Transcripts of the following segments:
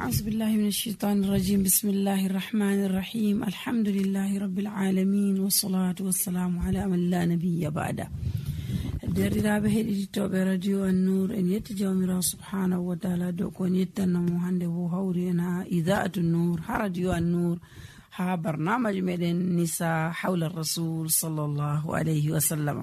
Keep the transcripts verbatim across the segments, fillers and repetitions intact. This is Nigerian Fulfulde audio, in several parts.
أعوذ بالله من الشيطان الرجيم. بسم الله الرحمن الرحيم. الحمد لله رب العالمين والصلاة والسلام على من لا نبي بعده. derdiraaɓe heɗititoɓe radio an-nur en yetti jawmirawo subhanahu wa taala dow ko en yettannamo hande bo hawri en ha idaatu nur ha radio an-nur ha barnamaji meɗen nisa hawla rasul sallallahu alayhi wa sallam.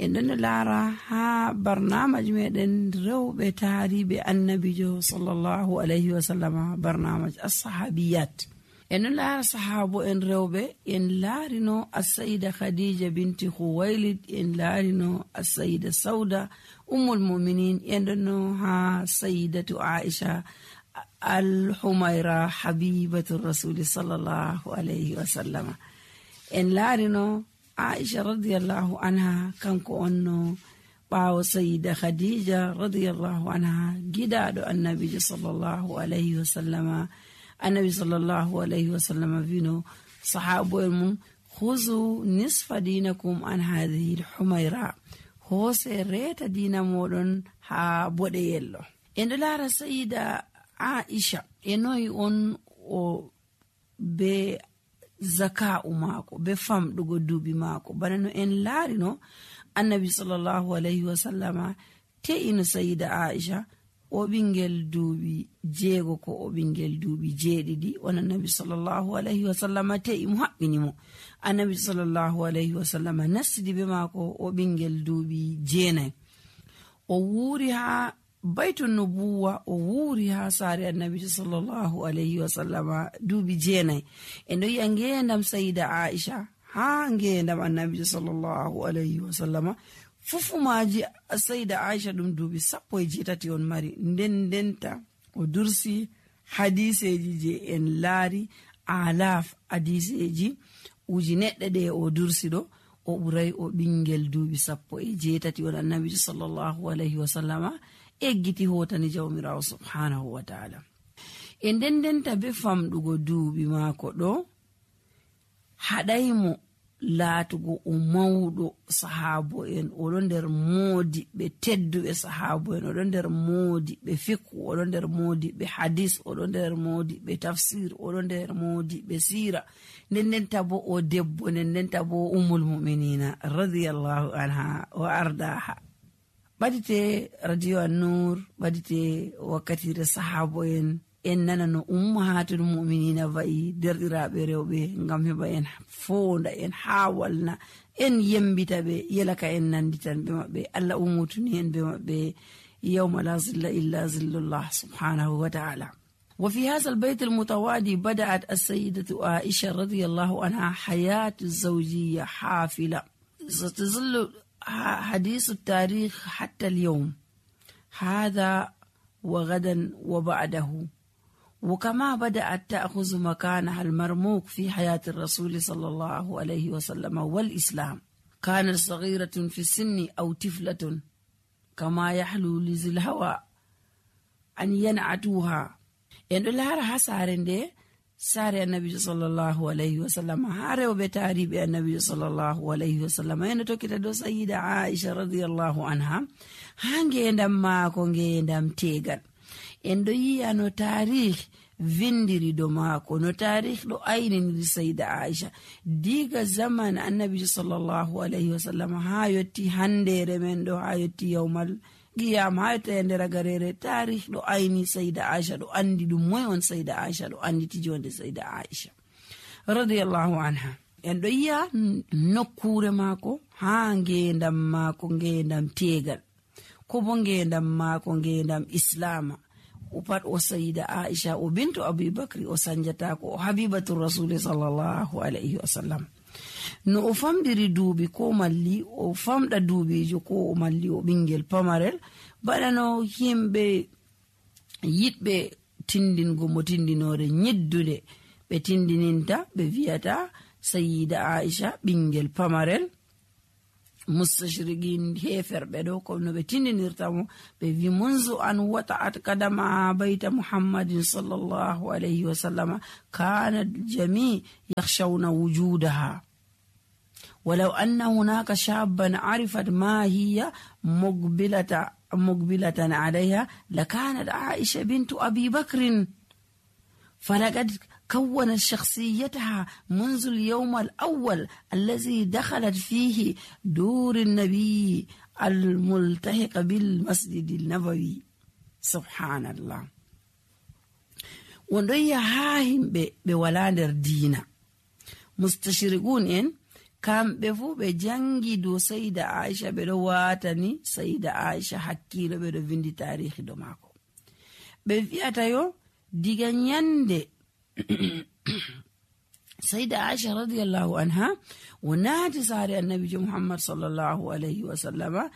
en ɗon laara ha barnamaji meɗen rewɓe taariɓe annabijo sallallahu alayhi wa sallam, barnamaji as-sahabiyat. en ɗon laara sahabo en rewɓe. en laarino as-sayida khadija binti khuwailid, en laarino as-sayida sauda ummul mu'minin, en ɗonno ha sayidatu aisha al-humayra habibatu rasuli sallallahu alayhi wa sallam. en laarino aisha radiyallahu anha, kanko onno ɓaawo sayida khadija radiyallahu anha, gidaɗo annabijo sallallahu alayhi wa sallama. annabi sallallahu alayhi wa sallam vino sahabo en mum, khuzu nisfa dinakum an hadhihi al-humayra, hose reta dina moɗon ha boɗeyello. en ɗo laara sayida aisha e noyi on o be zaka'u maako, be famɗugo duuɓi maako. bana no en laarino annabi sallallahu alayhi wa sallama te'ino sayida aisha o ɓingel duuɓi jeego ko o ɓingel duuɓi jeeɗiɗi. on annabi sallallahu alayhi wa sallama te'i mo haɓɓini mo. annabi sallallahu alayhi wa sallama nastidi be maako o ɓingel duuɓi jeenayi. o wuuri ha baytun nubuwa, o wuuri ha saare annabi sallallahu alayhi wa sallama duuɓi jeenayi. en ɗo yi'a ngendam sayida aisha ha ngendam annabi sallallahu alayhi wa sallama fufumaji sayida aisha ɗum duuɓi sappo e jeetati on mari. nden ndenta o dursi hadiseji je en laari alaf hadiseji uji neɗɗe ɗe o dursi ɗo, o ɓuray o ɓingel duuɓi sappo e jeetati on annabi sallallahu alayhi wa sallama eggiti hotani jawmirawo subhanahu wa taala. e nden ndenta be famɗugo duuɓi maako ɗo haɗaymo laatugo o mawɗo sahabo en, oɗo nder moodi ɓe tedduɓe sahabo en, oɗo nder moodi ɓe fikhu, oɗo nder moodi ɓe hadis, oɗo nder moodi ɓe tafsir, oɗo nder moodi ɓe sira. nden ndenta bo o debbo, nden ndenta bo ummul mu'minina radiyallahu anha wa ardaha. ɓadite radio an-nur, ɓadite wakkatire sahabo en, en nana no ummahatul mu'minina wa'i, derɗiraɓe rewɓe, ngam heɓa en fonda, en hawalna, en yembita ɓe, yelaka en nanditan ɓe maɓɓe. allah ummutuni en be maɓɓe yawma la zilla illa zillullah subhanahu wa ta'ala. وفي هذا البيت المتواضع بدأت السيدة عائشة رضي الله عنها حياة الزوجية حافلة ستظل حديث التاريخ حتى اليوم هذا وغدا وبعده. وكما بدأت تأخذ مكانها المرموق في حياة الرسول صلى الله عليه وسلم والإسلام. كانت صغيرة في السن أو طفلة كما يحلو لذي الهوى أن ينعتوها. en ɗo laara ha saare nde, saare annabijo sallallahu alayhi wa sallam, ha rewɓe taariɓe annabijo sallallahu alayhi wa sallam. en ɗo tokkita dow sayida aisha radiyallahu anha ha ngendam maako, ngendam tegal. en ɗo yi'a no taarih vindiri do maako, no taarih ɗo ayniri sayida aisha diga zaman annabijo sallallahu alayhi wa sallam ha yotti handere men ɗo, ha yotti yawmal qiyam, ha yotta nder garere. taarih ɗo ayni sayida aisha, ɗo andi ɗum moy on sayida aisha, ɗo anditi jonde sayida aisha radiyallahu anha. en ɗo yi'a nokkure maako ha ngendam maako, ngendam tegal, ko bo ngendam maako, ngendam islama. o pat o sayida aisha o bintu abubakri o sanjatako, o habibatu rasuli sallallahu alayhi wa sallam. no o famdiri duuɓi ko malli o famɗa duuɓijo, ko o malli o ɓingel pamarel, bana no himɓe yiɗɓe tindingo mo tindinore nyiddude ɓe tindininta, ɓe wiyata sayida aisha ɓingel pamarel. mustashriqin heferɓe ɗo ko no ɓe tindinirtamo, ɓe wi munzu an wata'at kadama bayta muhammadin sallallahu alayhi wa sallama kanat jami yakhshawna wujudaha ولو أن هناك شابا عرفت ما هي مقبلة مقبلة عليها لكانت عائشة بنت أبي بكر فلقد كونت شخصيتها منذ اليوم الأول الذي دخلت فيه دور النبي الملتحق بالمسجد النبوي. سبحان الله. وندويا هاهم بولاندر دينا مستشرقون إن كم بفو بجانجي دو سيدة عائشة بدواتني سيدة عائشة حكيلو بدو فيندي تاريخي دو ماكو بفياتا يو ديغا نياندي سيدة عائشة رضي الله عنها وناتي ساري النبي محمد صلى الله عليه وسلم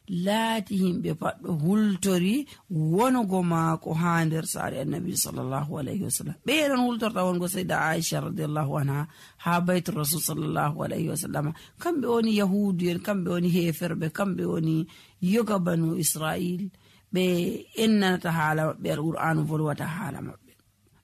لاتهم بفاتو هلتوري ونغو ماكو هاندر ساري النبي صلى الله عليه وسلم بيرن هلتور تاونغو سيدة عائشة رضي الله عنها ها بيت الرسول صلى الله عليه وسلم كم بيوني يهودين كم بيوني هيفر كم بيوني يوغا بنو إسرائيل بي إننا تحالة بالقرآن فلوة تحالة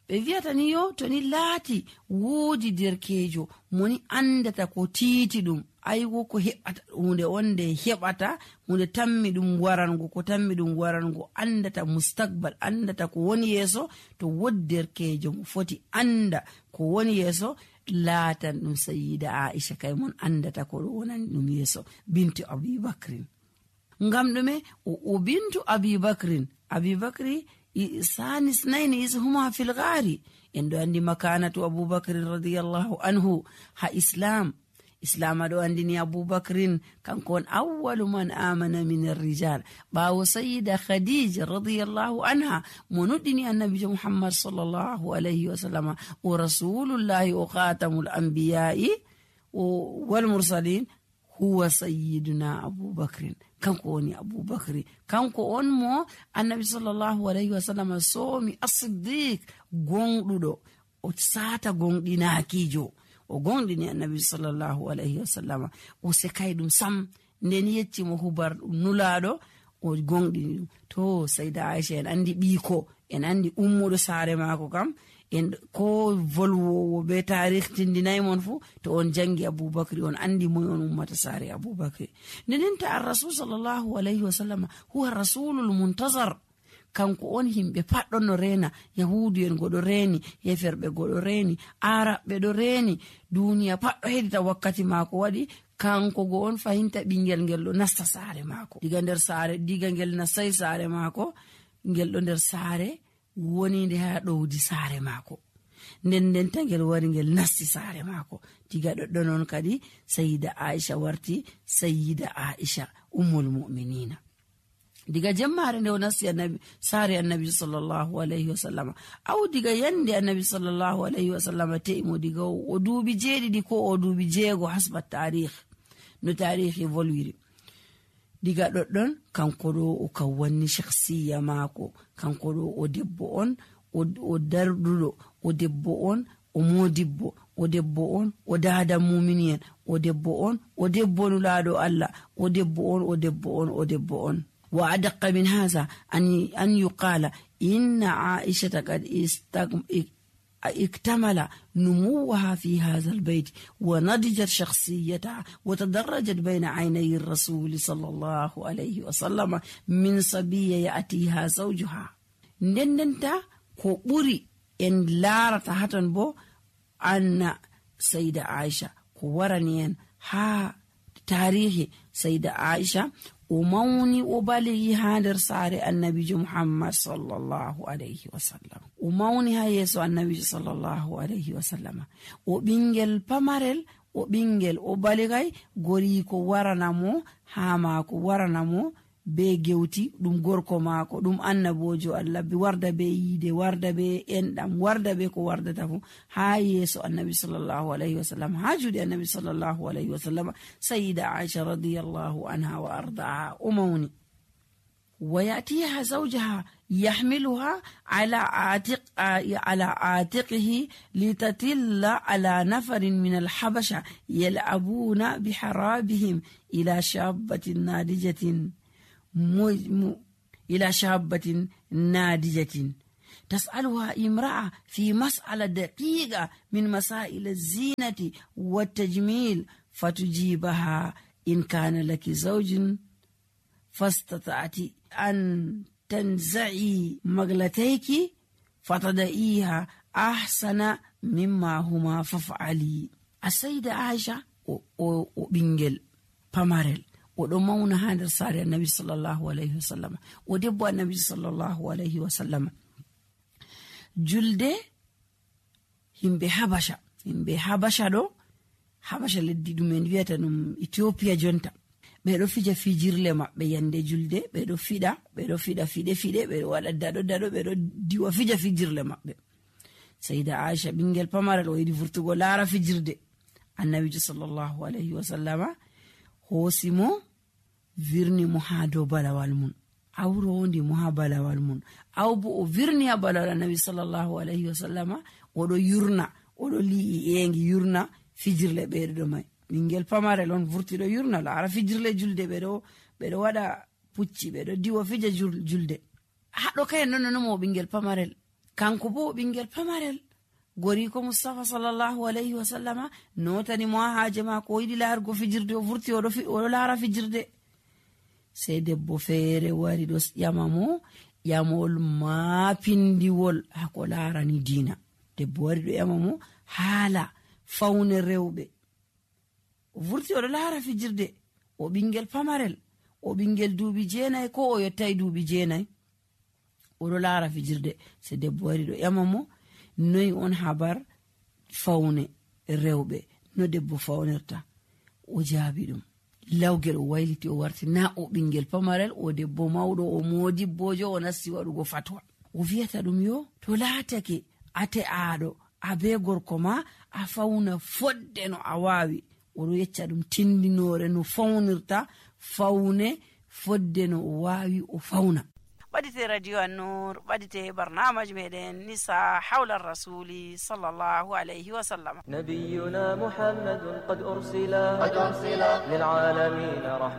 ɓe wiyata ni yo to ni laati woodi derkeejo moni andata ko tiiti ɗum aygo ko heɓata hunde onde heɓata hunde tammi ɗum warango ko tammi ɗum warango andata mustakbal andata ko woni yeeso to wodi derkeejo mo foti anda ko woni yeeso laatan ɗum sayyida Aisha kay mon andata ko ɗo wonani ɗum yeeso bintu Abubakrin. ngam ɗume o bintu Abubakrin Abubakri ثاني اثنين إذ هما في الغار إن عندي مكانة أبو بكر رضي الله عنه ها إسلام إسلام دو عندني أبو بكر كان كون أول من آمن من الرجال باو سيدة خديجة رضي الله عنها مندني النبي محمد صلى الله عليه وسلم ورسول الله وخاتم الأنبياء والمرسلين هو سيدنا أبو بكر kanko woni Abubakri kanko on mo annabi sallallahu alayhi wa sallam somi as-siddiq gonɗuɗo o sata gonɗinakijo o gonɗini annabi sallallahu alayhi wa sallam o sekay ɗum sam nden yecci mo hubar ɗum nulaɗo o gonɗini ɗum to sayda Aisha en andi ɓiiko en andi ummuɗo saare maako kam en ko volwowo be tarikh tindinay mon fu to on jangi Abubakri on andi moy on ummata sare Abubakri nenenta ar-rasul sallallahu alayhi wa sallam huwa rasulul muntazar kanko on himbe paddo no rena yahudu en godo reni yeferbe godo reni arabe do reni duniya paddo hedita wakkati mako wadi kanko go on fahinta bingel ngel do nasta sare mako diga nder sare diga ngel nasay sare mako ngel do nder sare woni nde ha ɗowdi saare maako nden nden tangel wari ngel nasti saare maako diga ɗoɗɗo noon kadi sayyida Aisha warti sayyida Aisha ummul mu'minina diga jemmare nde o nasti annabi saare annabi sallallahu alayhi wa sallam aw diga yande annabi sallallahu alayhi wa sallam te'imo diga o duubi jeeɗiɗi ko o duubi jeego hasba tarikh no tarikh volwiri diga ɗoɗɗon kanko ɗo o kawwanni shakhsiya maako kanko ɗo o debbo on o darduɗo o debbo on o modibbo o debbo on o dada muminiyen o debbo on o debbo nulaɗo Allah o debbo on o debbo on o debbo on wa adaqqa min hadha an an yuqala inna Aisha qad اكتمل نموها في هذا البيت ونضجت شخصيتها وتدرجت بين عيني الرسول صلى الله عليه وسلم من صبية يأتيها زوجها نندنتا كبري إن لارت هاتن بو أن سيدة عائشة كورانيان ها تاريخ سيدة عائشة وموني وبالي هادر ساري النبي محمد صلى الله عليه وسلم وموني هايسو النبي صلى الله عليه وسلم وبنجل بمارل وبنجل وبالي غوريكو ورانامو هاماكو ورانامو be gewti dum gorko maako dum annabojo Allah bi warda be yide warda be endam warda be ko wardata fu ha yeso annabi sallallahu alayhi wasallam ha judi annabi sallallahu alayhi wasallam sayyida Aisha radiyallahu anha wa ardaha umawni ويأتيها زوجها يحملها على عاتق على عاتقه لتتل على نفر من الحبشة يلعبون بحرابهم إلى شابة ناضجة م... إلى شابة ناضجة تسألها امرأة في مسألة دقيقة من مسائل الزينة والتجميل فتجيبها إن كان لك زوج فاستطعت أن تنزعي مغلتيك فتضعيها ahsana mimma huma faf'ali. Asayda Aisha o, o, o ɓingel pamarel o ɗo mauna ha nder saare annabi sallallahu alaihi wasallam, o debbo annabi sallallahu alaihi wasallam. Julde himɓe habasha himɓe habasha ɗo, habasha leddi ɗum en wiyata ɗum Ethiopia jonta, ɓe ɗo fija fijirle maɓɓe yande julde, ɓe ɗo fiɗa ɓe ɗo fiɗa fiɗe fiɗe, ɓe ɗo waɗa daɗo daɗo, ɓe ɗo diwa fija fijirle maɓɓe. Sayda Aisha ɓingel pamarel o yiɗi vurtugo laara fijirde. Annabijo sallallahu alaihi wasallama hoosi mo virni mo ha dow balawal mun, awrondi mo ha balawal mun, aw bo o virni ha balawal annabi sallallahu alaihi wasallama, oɗo yurna, oɗo li'i engi yurna fijirle ɓeɗo mai. Ɓingel pamarel on vurti ɗo yurna laara fijirle julde, ɓeɗo ɓeɗo waɗa pucci, ɓeɗo diwa fija julde. Haɗo kayen non non mo ɓingel pamarel, kanko bo ɓingel pamarel goriko Mustafa sallallahu alaihi wasallama notani mo ha haaje mako, o yiɗi laargo fijirde, o vurti oɗo oɗo laara fijirde. Sei debbo feere wari ɗo ƴama mo ƴamol maapindiwol hako laarani diina. Debbo wari ɗo ƴama mo haala fawne rewɓe, o vurti oɗo laara fijirde, o ɓingel pamarel, o ɓingel duuɓi jeenayi ko o yottai duuɓi jeenayi, oɗo laara fijirde. Se debbo wari ɗo ƴama mo noyi on habar fawne rewɓe, no debbo fawnirta? O jaabi ɗum lawgel, o wayliti o warti na o ɓingel pamarel, o debbo mawɗo, o modibbojo, o nasti waɗugo fatwa. O wiyata ɗum yo to laatake ate aɗo abe gorko ma a fawna fodde no a wawi. Oɗo yecca ɗum tindinore no fawnirta fawne fodde no o wawi o fawna. ɓadite radio An-Nur, ɓadite barnamaji meɗen nisa hawla rasuli sallallahu alayhi wa sallam. نبينا محمد قد أرسل قد أرسل للعالمين رحمة